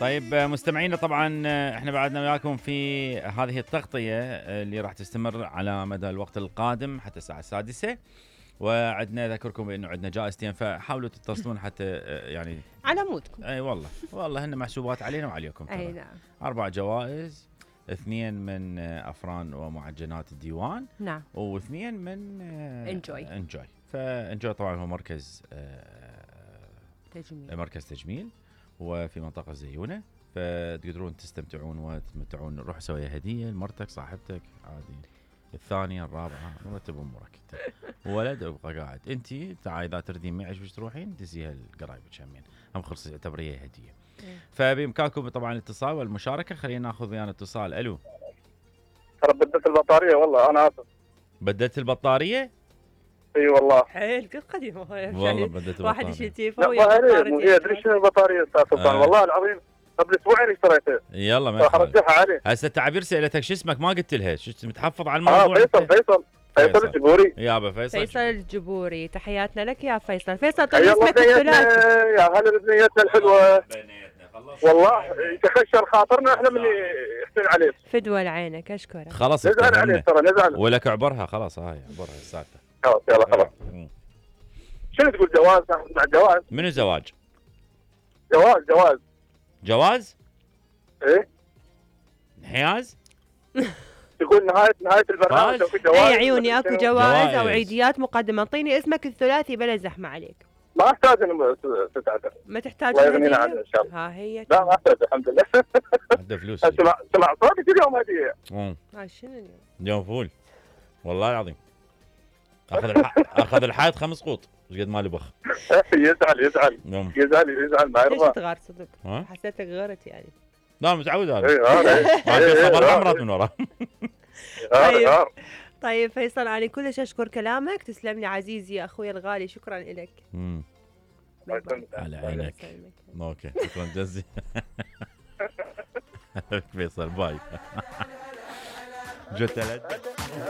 طيب مستمعينا، طبعا احنا بعدنا وياكم في هذه التغطية اللي راح تستمر على مدى الوقت القادم حتى الساعة 6. وعدنا اذكركم بانه عندنا جائزتين، فحاولوا تتصلون حتى يعني على مودكم. اي والله هن محسوبات علينا وعليكم. اي نعم. 4 جوائز، 2 من افران ومعجنات الديوان. نعم. و2 من انجوي. فانجوي طبعا هو مركز تجميل. مركز تجميل وفي منطقة زيونة، فتقدرون تستمتعون وتمتعون. روح سوي هدية لمرتك صاحبتك عادي، الثانية الرابعة، مرتب امورك انت. ولد ابقى قاعد انت تعال اذا تردين معي ايش تروحين دزيها لقرايبك همين، هم خلص اعتبريها هدية. فبامكانكم طبعا الاتصال والمشاركة. خلينا ناخذ ويانا اتصال. الو. ترى بدلت البطارية والله، انا اسف. بدلت البطارية؟ اي والله. حيل قديمة والله بدلت البطارية. واحد يشيل تليفون لا ما هي ادري شنو البطارية استاذ سلطان. والله العظيم قبل اسبوعين اشتريتها. يلا ما راح ارجعها عليه. هسه تعبير سالتك شو اسمك ما قلت لها، شو متحفظ على الموضوع؟ فيصل الجبوري. يابا فيصل الجبوري، تحياتنا لك يا فيصل. فيصل طيب اسمك الثلاثي. يا هلا بنيتنا الحلوة. والله يتخشر خاطرنا احنا من يحسن عليه. فدوى لعينك، اشكرك. خلاص نزعل عليه ترى نزعل. ولك عبرها خلاص، هاي عبرها السالفة. خلاص يلا خلاص. شنو تقول جواز؟ مع جواز؟ منو زواج؟ جواز؟ ايه؟ انحياز؟ تقول نهاية البرنامج اكو جواز؟ اي عيوني اكو جواز او عيديات مقدمة. اعطيني اسمك الثلاثي بلا زحمة عليك. ما احتاج انه تتعذر. ما تحتاج. الله يغنينا عنه ان شاء الله. ها هي. لا ما احتاج الحمد لله. عنده فلوس. سمع صوتك اليوم هدية. هاي شنو اليوم؟ اليوم فول والله العظيم. اخذ الحائط 5 قوط، ايش قد ما لبخ. يزعل ما يرضى. ليش تغار صدق؟ حسيتك غرت يعني. لا متعود انا. ما صبر عمرات من ورا. طيب فيصل انا كلش اشكر كلامك، تسلم لي عزيزي يا اخوي الغالي، شكرا لك. على عينك. اوكي شكرا جزيلا. فيصل باي. جوتلت